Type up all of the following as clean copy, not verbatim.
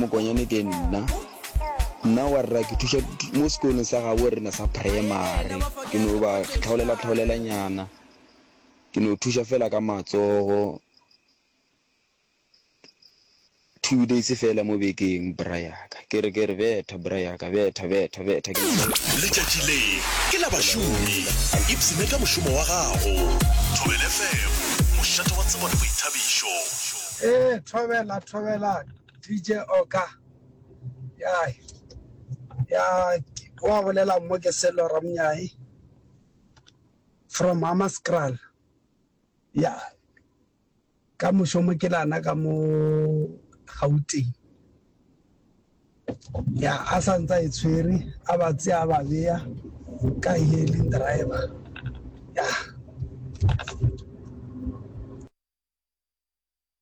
Mokonyane ke nna. Nna warra ke thuša mo sekolong sa gabo rena sa primary. Ke no ba tlhaolela tlhaolela nyana. Ke no thuša fela ka matsogo. 2 days fela mo bekeng bra yaka. Ke re ke re betha bra yaka betha betha betha ke Letšatši le ke la bašomi. Ipshine ka mošomo wa gago. Thobela FM, mošate wa tsebo le boithabišo. Ee thobela thobela DJ Oka ya ya wa bolela mo ke Sello Ramnyai from Hammanskraal ya ka mošomo ke lana ka mo Gauteng ya a sa ntse a e tshwere a ba tseya a ba beya ka hailing driver ya.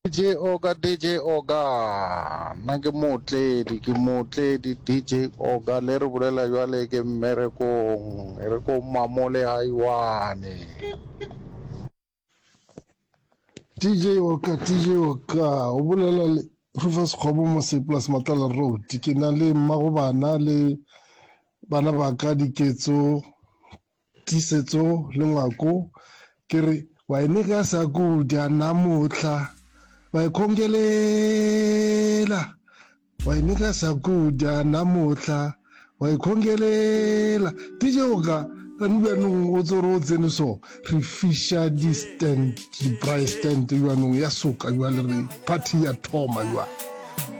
DJ Oga DJ Oga nna ke mootledi ke mootledi DJ Oga le re bolela jwale ke mmerekong e re ko mamole haiwane. DJ Oka, DJ Oka, o bolela le Rufus Kgobo mo Seplus Matlala Road. Ke na le mmago bana le bana ba ka Diketso, Tiisetso le Ngwako. Ke re wa e nega sa kudya namuhla wa e khongelela wa e nega sa kudya namuhla wa e khongelela DJ o ka kane bjanong o tsore o tsene so re fiša di stand di braai stand bjanong ya soka jwale re party ya thoma jwale.